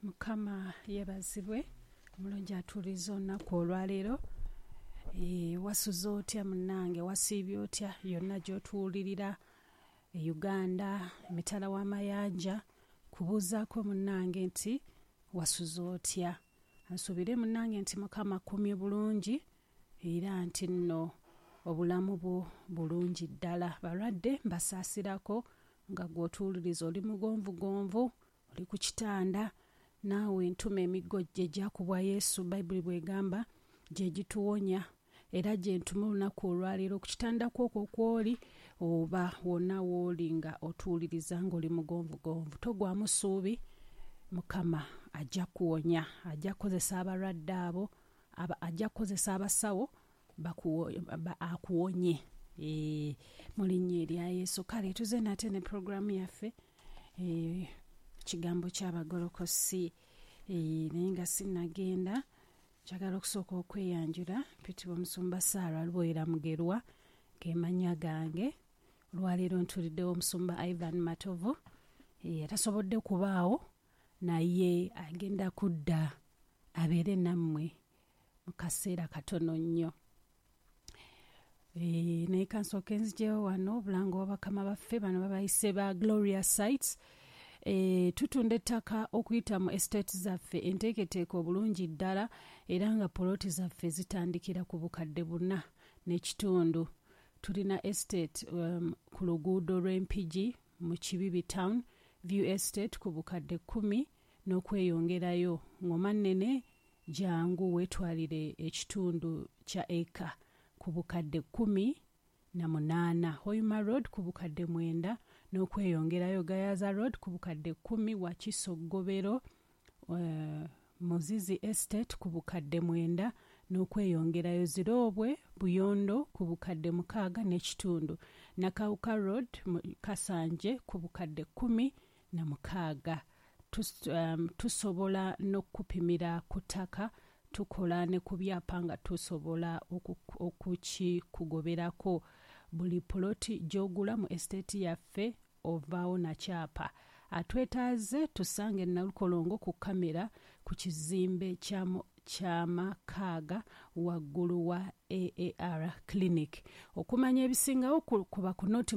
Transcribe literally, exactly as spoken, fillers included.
Mukama yeebazibwe omulungi atuuliza olunaku olwaleero. E, wasuze otya munnange, wasiibye otya yonna gy'otuwulirira e Uganda, emitala w'amayanja, kubuuzaako munnange nti wasuze otya. Nsuubire munnange nti Mukama akumye bulungi era nti nno obulamu bwo bulungi ddala. Balwadde mbasaasirako nga gw'otuwuliriza oli mugonvugonvu, oli ku kitanda, naawe ntuma emiggo gye gyakubwa Yesu, Bayibuli bw'egamba gye gituwonya, era gye ntuma olunaku olwaleero ku kitanda kwokwo kw'oli oba wonna w'oli nga otuwuliriza ng'oli mugonvugonvu. Togwamu ssuubi, Mukama ajja kuwonya, ajja kukozesa abalwadde abo, aba, ajja kukozesa abasawo akuwonye e, mu linnya erya Yesu. Kale tuze nate ne puroguramu yaffe e, kigambo ky'abagolokosi e, naye nga sinnagenda njagala okusooka okweyanjula. Mpitibwa Omusumba Sarah Luboyera Mugerwa, ge mannya gange. Olwaleero ntuliddewo Omusumba Ivan Matovu, e, atasobodde kubaawo naye agenda kudda abeere nammwe mu kaseera katono nnyo. E, naye kansooke nzijewo wano obulango bw'abakama baffe bano babayise ba Gloria Sites. E, tutunda ettaka okuyita mu estate zaffe enteeketeeke obulungi ddala, era nga poloti zaffe zitandikira ku bukadde buna n'ekitundu. Tulina estate um, ku luguudo lw'Empigi mu Kibibi Town, View Estate ku bukadde kkumi n'okweyongerayo. Ngoma nnene jangu weetwalire ekitundu kya eka ku bukadde kkumi na munaana. Hoima Road ku bukadde mwenda n'okweyongerayo. Gayaza Road ku bukadde kkumi. Wakiso Ggobero uh, Muzizi Estate ku bukadde mwenda n'okweyongerayo. Ziroobwe Buyondo ku bukadde mukaaga n'ekitundu. Nakawuka Road mu Kasanje ku bukadde kkumi na mukaaga. Tus, um, tusobola n'okupimira ku ttaka, tukola ne ku byapa nga tusobola okukikugoberako. Buli poloti gy'ogula mu estate yaffe ovaawo na kyapa. Atwetaaze tusange Nalukolongo ku kamera ku kizimbe ky'amakaaga waggulu wa A A R Clinic. Okumanya ebisingawo kuba ku noti